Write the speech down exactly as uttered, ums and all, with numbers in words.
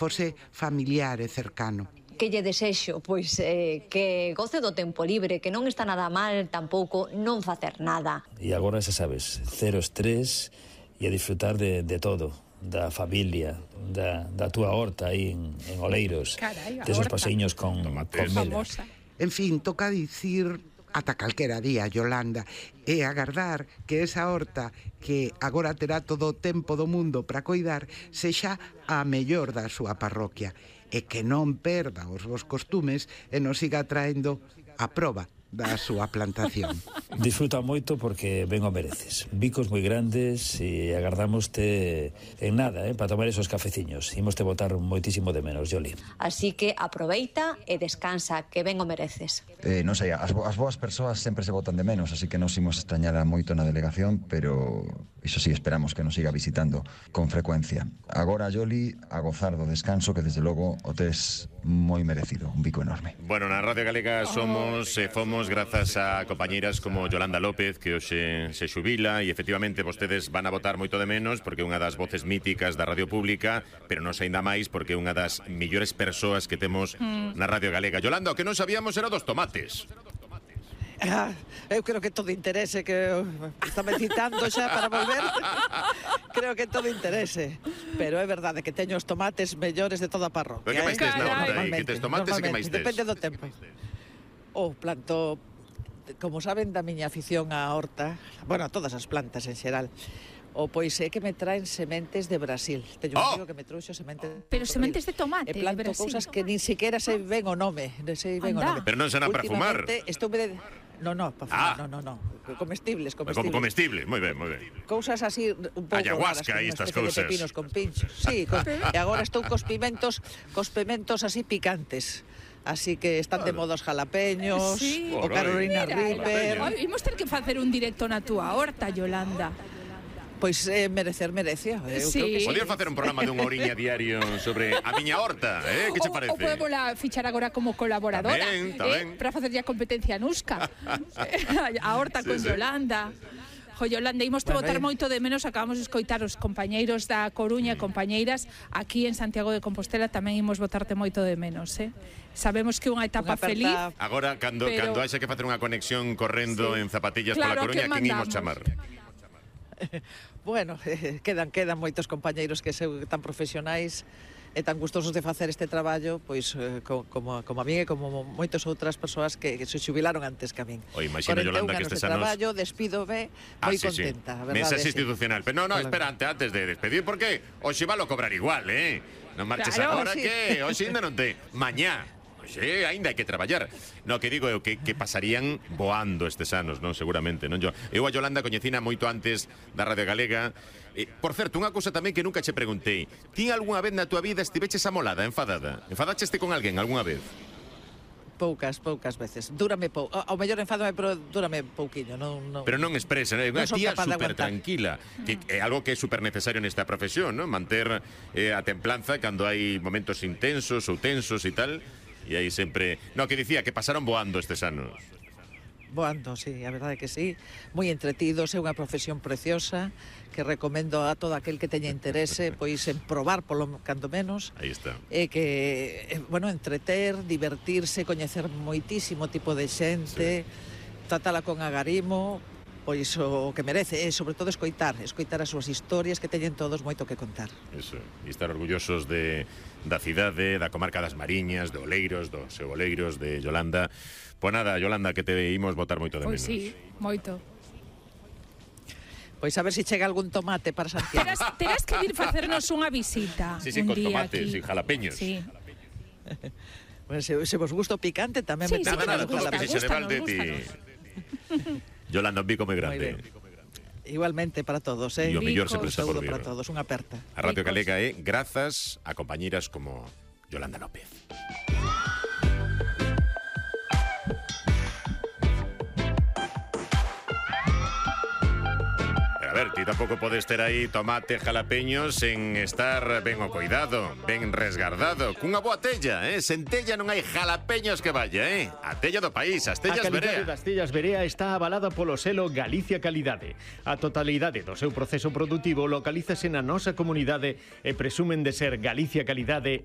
fose familiar e cercano. Que lle desexo, pois, eh, que goce do tempo libre, que non está nada mal tampouco non facer nada. E agora, xa sabes, cero estrés e a disfrutar de, de todo, da familia, da, da túa horta aí en, en Oleiros, Carai, desos paseiños con, con mela. En fin, toca dicir ata calquera día, Yolanda, e agardar que esa horta que agora terá todo o tempo do mundo para coidar sexa a mellor da súa parroquia e que non perda os vos costumes e nos siga traendo a proba da súa plantación. Disfruta moito porque ben o mereces. Bicos moi grandes e agardámoste en nada, eh, para tomar esos cafeciños. Imos te botar moitísimo de menos, Yoli. Así que aproveita e descansa, que ben o mereces. Eh, non sei, as, bo as boas persoas sempre se botan de menos, así que nos imos extrañar moito na delegación, pero iso sí, esperamos que nos siga visitando con frecuencia. Agora, Yoli, a gozar do descanso, que desde logo o tes moi merecido, un bico enorme. Bueno, na Radio Galega somos e eh, fomos grazas a compañeiras como Yolanda López, que hoxe se xubila, e efectivamente vostedes van a votar moito de menos porque é unha das voces míticas da radio pública, pero non sei ainda máis porque é unha das millores persoas que temos mm. na Radio Galega. Yolanda, o que non sabíamos era dos tomates. Ah, eu creo que todo interese, que está me citando xa para volver. Creo que todo interese. Pero é verdade que teño os tomates mellores de toda a parroquia. Pero que máis tes na horta aí? Que tes tomates e que máis tes? Depende do tempo. O planto, como saben da miña afición á horta, bueno, a todas as plantas en xeral, o pois é que me traen sementes de Brasil. Teño un amigo que me trouxo sementes. Pero sementes de tomate, e planto de Brasil. Cousas que nin siquiera sei ben o nome, non sei ben o nome. Pero non se van a perfumar. Estou de No, no, para fumar, ah. no, no, no. Comestibles, comestibles. Como comestible, moi ben, moi ben. Cousas así un pouco ayahuasca raras, e estas cousas. De pepinos con pinchos. Sí, con, e agora estou cos pimentos, cos pimentos así picantes. Así que están de modos jalapeños, sí. O Carolina Reaper. Imos ter que facer un directo na túa horta, Yolanda. Pois eh, merecer merecia. Eu sí. creo que sí. Podías facer un programa dunha horiña diario sobre a miña horta, eh? Que che parece? O, o podemos la fichar agora como colaboradora, tamén, eh? tamén. Para facer ya competencia nusca. A horta sí, con sí. Yolanda. Jo, Yolanda, imos te bueno, botar eh. moito de menos. Acabamos de escoitar os compañeiros da Coruña, mm. compañeiras aquí en Santiago de Compostela, tamén imos botarte moito de menos, eh? Sabemos que é unha etapa unha feliz. Agora, cando, pero... cando haxe que facer unha conexión correndo sí. en zapatillas claro, pola Coruña, quen imos chamar? Bueno, eh, quedan quedan moitos compañeiros que seu tan profesionais e tan gustosos de facer este traballo, pois eh, co, como, como a mí e como moitas outras persoas que, que se xubilaron antes que a min. O imagino, Yolanda, que estes anos... traballo, despídome moi ah, sí, contenta, sí. a verdade. Mensaxe institucional. Pero no, no, espera, antes, antes de despedir, porque hoxe valo cobrar igual, eh? Non marches claro, agora sí. Que hoxe ainda non te... Mañá. Sí, ainda hai que traballar. No, que digo eu que, que pasarían voando estes anos, non? Seguramente, non? Yo, eu a Yolanda coñecina moito antes da Radio Galega. Eh, por certo, unha cousa tamén que nunca che preguntei. Ti algunha vez na tua vida estiveches amolada, enfadada? Enfadacheste con alguén algunha vez? Poucas, poucas veces. Dúrame pouco. Ao mellor enfádame, pero dúrame pouquiño, non, non. Pero non expresa, non? Unha tía super tranquila, que é algo que é super necesario nesta profesión, non? Manter eh, a templanza cando hai momentos intensos ou tensos e tal. E aí sempre... No, que dicía que pasaron voando estes anos. Voando, sí, a verdade que sí. Moi entretidos, é unha profesión preciosa que recomendo a todo aquel que teña interese pois en probar polo cando menos. Aí está. E que, bueno, entreter, divertirse, coñecer moitísimo tipo de xente, sí. Tratala con agarimo, pois o que merece, e sobre todo escoitar, escoitar as súas historias que teñen todos moito que contar. Eso, e estar orgullosos de da cidade, da comarca das Mariñas, de Oleiros, dos seu Oleiros, de Yolanda. Pois nada, Yolanda, que te imos botar moito de menos. Pois sí, moito. Pois a ver se si chega algún tomate para Santiago. Terás, terás que vir facernos unha visita. Sí, sí, un con día tomates aquí. e jalapeños. Sí. Bueno, se, se vos gusta o picante tamén sí, me sí, nada, nada, todo gusta, que se de balde ti. Yolanda, un bico moi grande. Igualmente para todos, eh. E o mellor sempre está por vir. Para todos, unha aperta. A Radio Galega é grazas a compañeiras como Yolanda López. A ver, ver, ti tampouco podes ter aí tomate, jalapeños sen estar ben o coidado, ben resgardado, cunha boa tella, eh? Sen tella non hai jalapeños que vaya, eh? A tella do país, as tellas A calidade Berea. das tellas Berea está avalada polo selo Galicia Calidade. A totalidade do seu proceso produtivo localízase na nosa comunidade e presumen de ser Galicia Calidade en